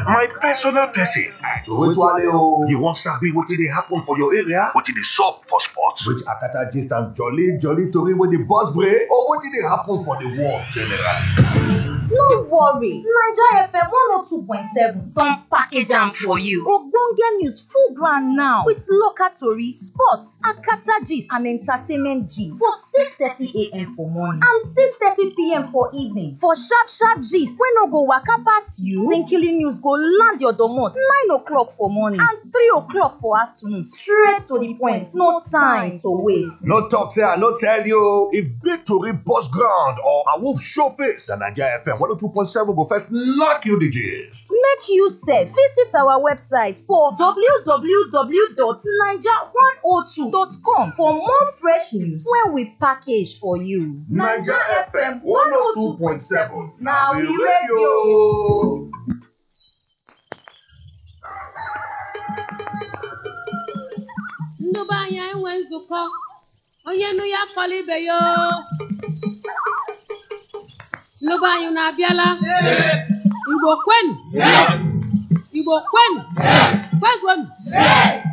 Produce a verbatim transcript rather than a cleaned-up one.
My personal person. Towale o. You wan sabi wetin dey happen for your area? Wetin dey sup for sports? Which Akata gist and jolly jolly tori wey dey burst brain, or wetin dey happen for the world generally? No worry, Naija F M one oh two point seven don package am for you. Ogbonge news full ground now with local tori, sports, Akata gist and entertainment gist for six thirty a m for morning and six thirty p m for evening for sharp sharp gist wey no go waka pass you. Tinkily news go land your domot nine o'clock for morning and three o'clock for afternoon, straight to the point, no time to waste. No talk say I no tell you. If big tori burst ground or a wolf show face, na Naija F M one oh two point seven go first knock you the gist. Make you sef visit our website for w w w dot naija one oh two dot com for more fresh news wey we package for you. Naija F M one oh two point seven, na we radio. Ndị be anyị enwe nzukọ, onye nụ ya kọla ibe ya o. Ndị be anyị na-abịala. Igbo kwenu. Igbo kwenu.